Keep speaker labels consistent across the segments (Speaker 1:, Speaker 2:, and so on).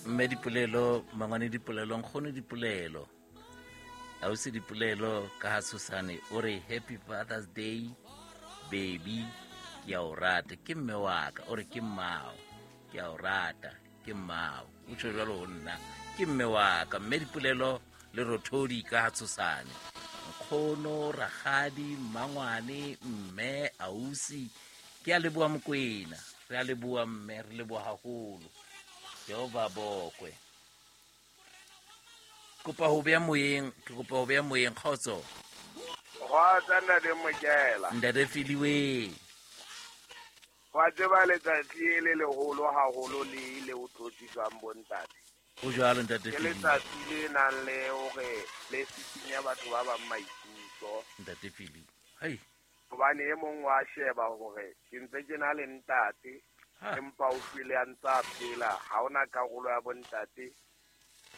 Speaker 1: Mme Dipolelo, mangwane Dipolelo, nkgono Dipolelo, ausi Dipolelo ka ha Tshosane, o re happy Father's Day baby, ke a o rata, ke mme wa ka, o re ke mmao, ke a o rata, ke mmao, o tjho jwalo ho nna, ke mme wa ka, mme Dipolelo le Rothodi ka ha Tshosane, nkgono, rakgadi, mmangwane, mme, ausi, ke a leboha Mokwena, re a leboha mme, re leboha haholo. Jehova bokwe. Kopa ho beha moyeng, ke kopa ho beha moyeng, kgotso.
Speaker 2: Kgotsa ntate Mokela.
Speaker 1: Ntate Filiwe.
Speaker 2: Wa tseba letsatsi le leholo haholo le le o tlotliswang bontate.
Speaker 1: O jwalo ntate
Speaker 2: Ke letsatsi le nang le hore le sisinya batho ba bang maikutlo.
Speaker 1: Ntate Fili. Hai.
Speaker 2: Hobane e mong wa sheba hore ke ntse ke na le ntate empa o shwele a ntse a phela, ha hona karolo ya bontate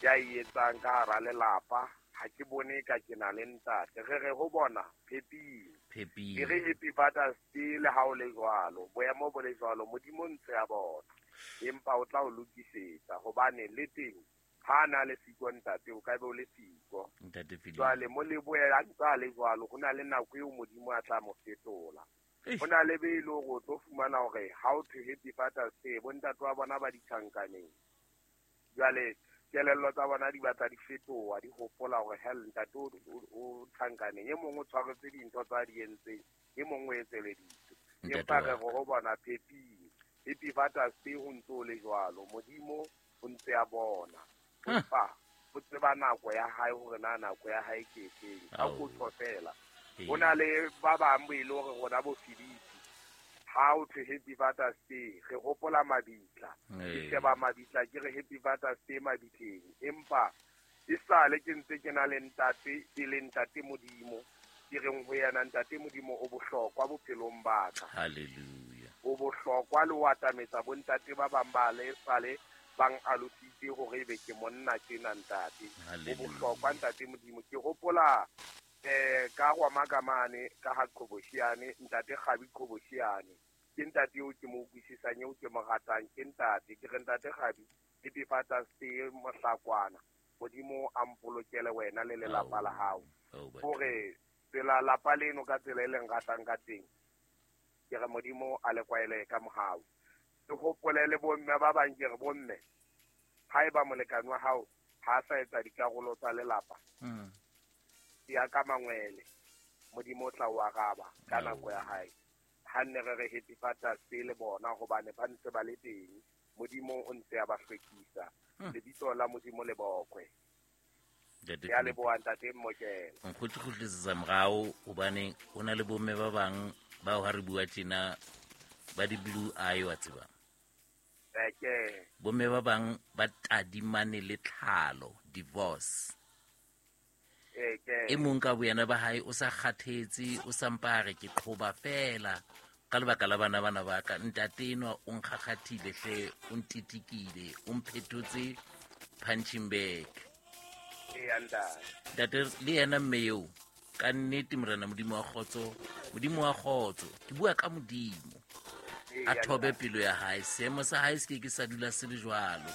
Speaker 2: ya e etsang ka hara lelapa, ha ke bone ka ke na le ntate. Re re ho bona pheping.
Speaker 1: Pheping.
Speaker 2: Ke re happy Father's Day le ha o le jwalo, boemo bo le jwalo, Modimo ntse a bona. Empa o tla o lokisetsa hobane le teng ha na le siko ntate, o ka be o le siko.
Speaker 1: Ntate Filipe.
Speaker 2: Jwale mo lebohe a ntse a le jwalo, ho na le nako eo Modimo a tla mo fetola. Ho na le be e le hore o tlo fumana hore ha o thwe happy Father's Day, bontate wa bona ba ditjhankaneng. Jwale kelello tsa bona di batla di fetoha, di hopola hore hell ntate o tjhankaneng, e mong o tshwaretse dintho tsa di entseng, e mong o etseleditswe. Empa re re ho bona pheping, happy Father's Day ho ntse o le jwalo, Modimo o ntse a bona. Empa o tseba nako ya hae hore na nako ya hae ke efeng. Ka kotlo fela. Ho na le ba bang bo e le hore rona bo Filipi, ha o thwe happy Father's Day, re hopola mabitla. Ke sheba mabitla ke re happy Father's Day mabitleng. Empa e sale ke ntse ke na le ntate, e le ntate Modimo, ke reng ho yena ntate Modimo o bohlokwa bophelong ba ka.
Speaker 1: Hallelujah.
Speaker 2: O bohlokwa le ho atametsa bontate ba bang ba le sale bang alositse hore ebe ke monna tjena ntate. O bohlokwa ntate Modimo. Ke hopola ka Rwamakamane ka ha Qhobosheane, ntate Kgabi Qhobosheane. Ke ntate eo ke mo utlwisisang, eo ke mo ratang, ke ntate. Ke re ntate Kgabi, happy Father's Day mohlakwana. Modimo a mpolokele wena le lelapa la hao. Hore tsela lapa leno ka tsela e leng ratang ka teng, ke re Modimo a le kwaele ka mohau. Ke hopole le bomme ba bang, ke re bomme, haeba molekane wa hao ha a sa etsa dikarolo tsa lelapa, ya ka mangwele, Modimo o tla o araba ka nako ya hae. Ha nne re re happy Father's Day le bona hobane ba ntse ba le teng. Modimo o ntse a ba hlwekisa. Lebitso la Modimo le bokwe. Ya leboha ntate Mmokela.
Speaker 1: Nkgutlikgutlisetsa morao hobane ho na le bomme ba bang bao ha re bua tjena ba di blue eye wa tseba. Bomme ba bang ba tadimane le tlhalo, divorce. E mong ka boyena ba hae o sa kgathetse, o sa mpa re ke qhoba fela ka lebaka la bana bana ba ka. Ntate enwa o nkgakgathile hle, o ntitikile, o mphetotse punching bag. Ntate le yena mme eo ka nnete Morena Modimo wa kgotso, Modimo wa kgotso, ke bua ka Modimo, a thobe pelo ya hae, seemo sa hae se ke ke sa dula se le jwalo.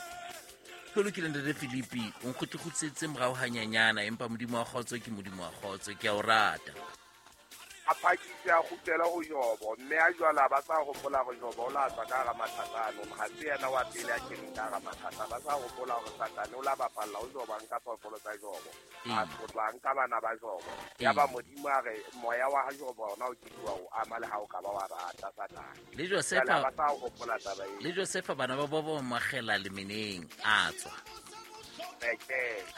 Speaker 1: Ho lokile ntate Filipi, o nkgutlikgutlisetse morao hanyanyana, empa Modimo wa kgotso ke Modimo wa kgotso, ke a o rata.
Speaker 2: A phakise a kgutlela ho Jobo, mme a jwala ba sa hopola hore Jobo o la tswa ka hara mathata ano, ha se yena wa pele a keneng ka hara mathata. Ba sa hopola hore Satane o la bapalla ho Jobo, a nka phoofolo tsa Jobo, a tlotla, a nka bana ba Jobo. Yaba Modimo a re moya wa ha Jobo ona o ke wa o ama le ha o ka ba wa rata Satane.
Speaker 1: Le Josefa
Speaker 2: ba sa hopola taba eo.
Speaker 1: Le Josefa bana ba bo magela lemeneng a tswa.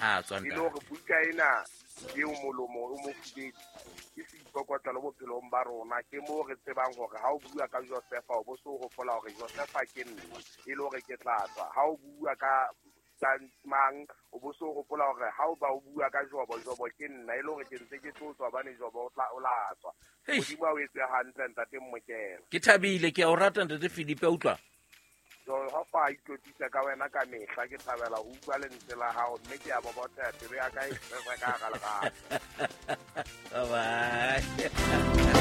Speaker 1: A tswa
Speaker 2: ntate. E le hore buka ena eo molomo o mofubedu ke seikokotlelo bophelong ba rona, ke moo re tsebang hore ha o bua ka Josefa o bo so hopola hore Josefa ke nna, e le hore ke tla tswa. Ha o bua ka mang o bo so hopola hore ha o ba o bua ka Jobo, Jobo ke nna, e le hore ke ntse ke tlo tswa hobane Jobo o la tswa. Modimo a o etse hantle ntate Mmokela.
Speaker 1: Ke thabile, ke a o rata ntate Filipe, utlwa.
Speaker 2: Jehova a itlotlisa ka wena ka mehla, ke thabela ho utlwa lentswe la hao, mme ke a bobotheha, pelo ya ka e tshwere ka hara lerato.
Speaker 1: Bye bye.